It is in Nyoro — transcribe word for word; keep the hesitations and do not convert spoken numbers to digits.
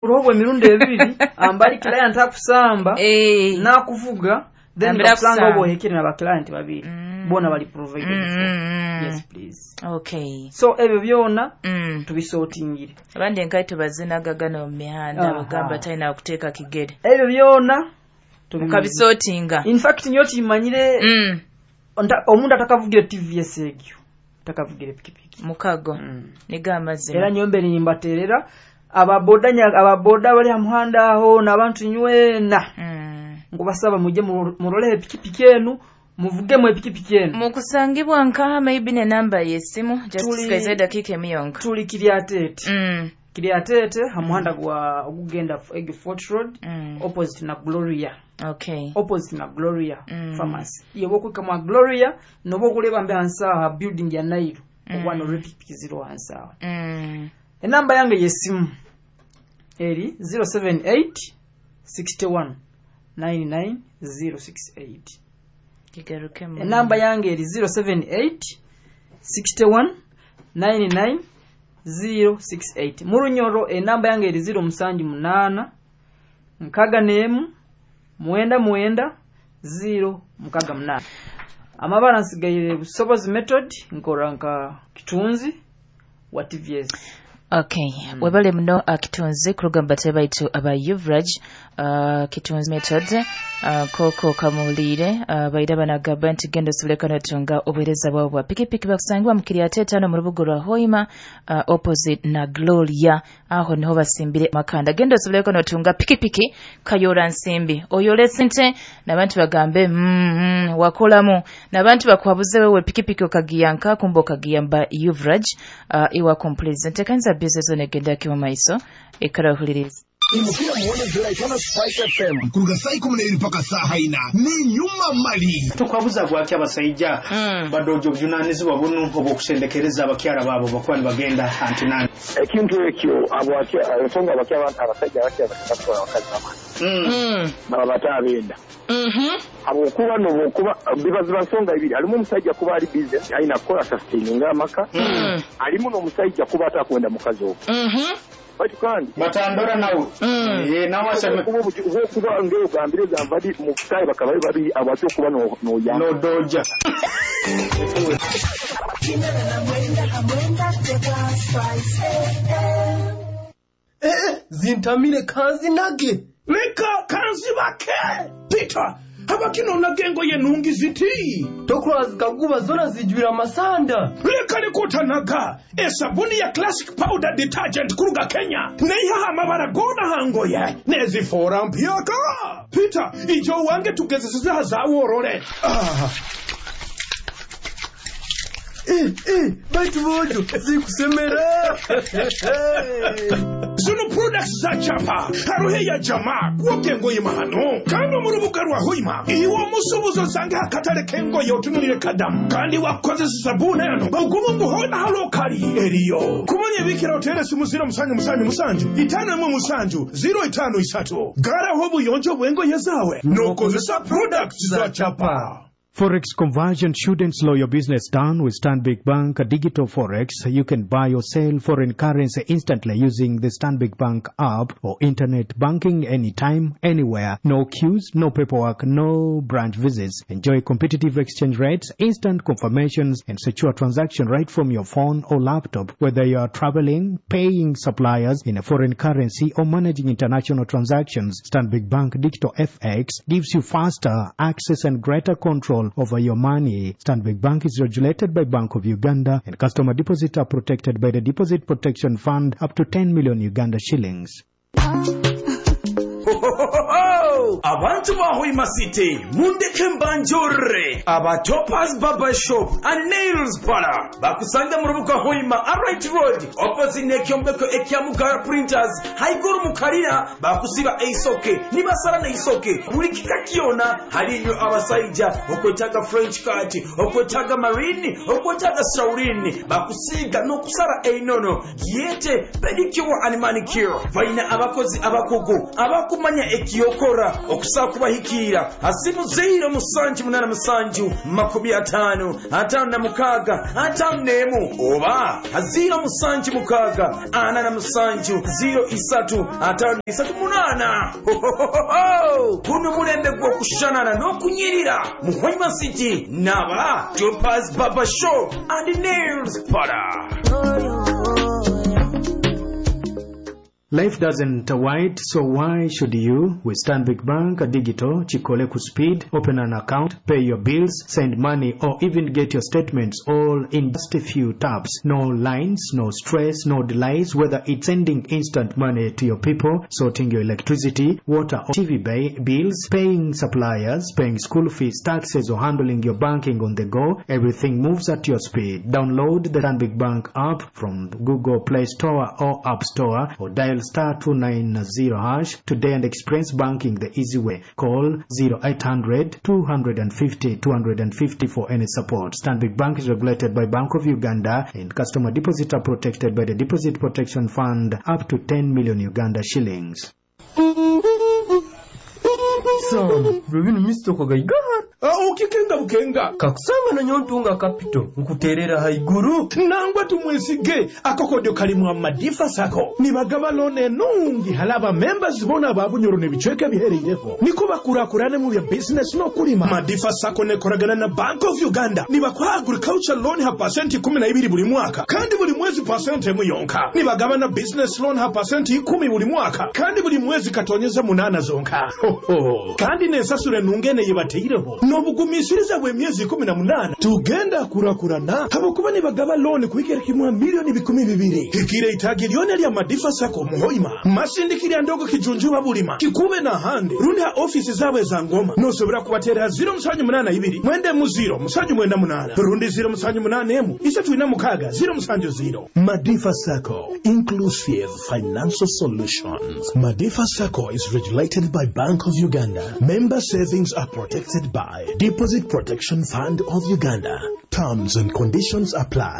Buroho emirundi ebiri ambali client akusamba Eh. nakuvuga, then Ambira bakusanga akusamba. Obo ohekere na client babiri Mm. bona bali provided Mm, for. mm, mm. Yes, please. Okay. So ebyo byona Mm. tubisortingire. Abandi enkaito bazinaga gano mu mihanda, Aha. bagamba talina kuteeka kigere. Ebyo byona tubi- Mukabisortinga. In fact, nyo kimanyire Mm. nta- omuntu atakavugire T V S egyo takavugire pikipiki. Mukago Mm. niga amazima. Era nyo nimbaterera ababoda nya- ababoda bali hamuhanda aho n'abantu nywena, Mm. nkubasaba mujye mu- muroleho epikipiki enu, muvugemu epikipiki enu. Mukusangibwa nkaha, maybe nenamba yesimu just Tuli- tusigaze eddakiika emu yonka. Tuli Kiryatete. Mm. Kiryatete hamuhanda gwa ogugenda egyo Fort Road, Mm. opposite na Gloria. Okay. Opposite na Gloria Mm. Pharmacy. Yoba okwika mwa Gloria noba okuleba mbe hansi aho building ya Nairo, Mm. obwana olw'epikipiki ziro hansi aho. Mm. Enamba yange yesimu eri zero seven eight sixty-one ninety-nine zero six eight. Kigarukemu. Enamba yange eri zero seven eight sixty-one ninety-nine zero six eight. Mu Runyoro enamba yange eri zero musanju munaana nkaga n'emu mwenda mwenda zero mukaga munaana. Amabara nsigaire Busobozi Method, nkora nka kitunzi wa T V S. Okay, webale muno uh, Kitunzi kuruga mu baitu aba Uvraj, uh, Kitunzi Method, uh, koko kamuliire uh, baira banagamba nti genda osobole notunga obuheereza bwabo bwa pikipiki. Bakusangibwa mu Kiryatete hano mu rubuga rwa Hoima, uh, opposite na Gloria, aho niho basimbire makanda. Genda osobole notunga pikipiki kayora nsimbi oyole sente n'abantu bagambe mm, mm, wakolamu n'abantu bakwabuze wewe pikipiki okagiyanka kumba okagiyamba Uvraj, uh, iwa complete ntekanza bizezo negenda kimu maiso ekarahuliriza. Imukira muone Jolaitano Spice F M kuruga saa ikumi n'ebiri paka saaha ina n'inyuma mali. Tukwabuza bwaki abasajja Mm. badoja obuvunanyizibwa bunu obw'okusendekereza abakyala baabo bakuba nibagenda antinani? Ekintu ekyo abo akya- ensonga abakya abasajja abakya batwala abakazi bamani Mm. baba bate abenda Mhm. habwokuba nobwokuba biba ziba nsonga ibiri. Halimu omusajja kuba ali busy alina kukola sustaininga amaka, Mm. halimu n'omusajja kuba atakwenda mukazi ogwo, Mhm. baitu kandi batandora nawe. Mm. Eh, nawe aseme. Okuba obuki- obwokuba ngaogambire gamba di mu kutayi bakaba bali babiri abo ate okuba no- noyamba. Nodoja. Eh, zintamire kanzinage. Leka kanzibake. Peter, habakinonaga engoye nungi ziti? Tokula zikaguba zona zijwira amasanda. Leka likutanaga esabuni ya Classic Powder Detergent kuruga Kenya neihaha amabara gona hangoye nezifoora mpyaka. Peter, ijo wange tugezeseza zaworore ah. Eh, eh, baitu bojo zikusemera. Zino products za chapa haruhe ya jama kwoga engoye mahano kandi mu rubuga rwa Hoima iwe omusubuzi osange akatale k'engoye otunulire kadamu kandi wakozesa sabuni eno ogumu nguhona halokali eriyo kumanya ebikira otere simu ziro musanju musanju musanju itano emwe musanju ziro itano isatu. Garaho obuyonjo bw'engoye zawe n'okozesa products za chapa. Forex conversion shouldn't slow your business down. With Stanbic Bank Digital Forex, you can buy or sell foreign currency instantly using the Stanbic Bank app or internet banking anytime, anywhere. No queues, no paperwork, no branch visits. Enjoy competitive exchange rates, instant confirmations, and secure transaction right from your phone or laptop. Whether you are traveling, paying suppliers in a foreign currency, or managing international transactions, Stanbic Bank Digital F X gives you faster access and greater control over your money. Stanbic Bank is regulated by Bank of Uganda, and customer deposits are protected by the Deposit Protection Fund up to ten million Uganda shillings. Abantu ba Hoima City, mundeke mbanjore aba Topas Barber Shop and Nails Parlor bakusanga mu rubuga Hoima Aright Road, opposite n'ekyombeko ekya Mugara Printers, haiguru mu kalina. Bakusiba eisoke nibasala neisoke buli kika kyona. Haliyo abasajja okwetaaga French cut, okwetaaga marine, okwetaaga saurin, bakusiiga n'okusala einono yete pedicure and manicure. Balina abakozi abakugu abakubirizibwa. Tokumanya ekiyokora okusaa kubahikiira asimu ziro musanju munana musanju makumi ataano ataano na mukaaga ataano n'emu oba ziro musanju mukaaga ana na musanju ziro isatu ataano isatu munaana. Hohohoho! Guno mulembe gw'okushanana n'okunyirira mu Hoima City n'aba Topaz Barber Shop and Nails Parlor. Life doesn't wait, so why should you? With Stanbic Bank Digital, Chikole Speed, open an account, pay your bills, send money, or even get your statements all in just a few taps. No lines, no stress, no delays, whether it's sending instant money to your people, sorting your electricity, water or T V bills, paying suppliers, paying school fees, taxes, or handling your banking on the go, everything moves at your speed. Download the Stanbic Bank app from Google Play Store or App Store, or dial star two nine zero hash today and experience banking the easy way. Call zero eight hundred two hundred fifty two hundred fifty for any support. Stanbic Bank is regulated by Bank of Uganda and customer deposits are protected by the Deposit Protection Fund up to ten million Uganda shillings. Sam, lwebinu misitoko gaigahara. Ukikenga bukenga kakusanga na nyontunga kapito nkuterera haiguru nangwa tumwesige akokodyo kalimu amadifa sako nibagaba lone nungi halaba members bona babunyoro nebicweka bihereireho niko bakurakurane mu bya business no kulima. Madifa sako nekoragana na Bank of Uganda nibakwa agriculture loan ha percent ikumi na ibiri buri mwaka kandi buri mwezi percent emu yonka. Nibagaba na business loan ha percent ikumi buri mwaka kandi buri mwezi katonyeza munana zonka. Ho, ho. Kandi nesasure nungene yebateireho nobugumisiriza bw'emyezi ikumi na munana tugenda kurakurana habokuba nibagaba loan kuikera kimwa milioni bikumi bibiri hikire itagi lyone lya Madifa Sako muhoima masindikirya ndogo kijunjuba bulima kikube na hande rundi ha ofisi zabwe za ngoma nosobora kubatera ziro musanju munana ibiri mwende mu ziro musanju mwenda munana rundi ziro musanju munana emu isatu ina mukaga ziro musanju ziro. Madifa Sako, inclusive financial solutions. Madifa Sako is regulated by Bank of Uganda. Member savings are protected by Deposit Protection Fund of Uganda. Terms and conditions apply.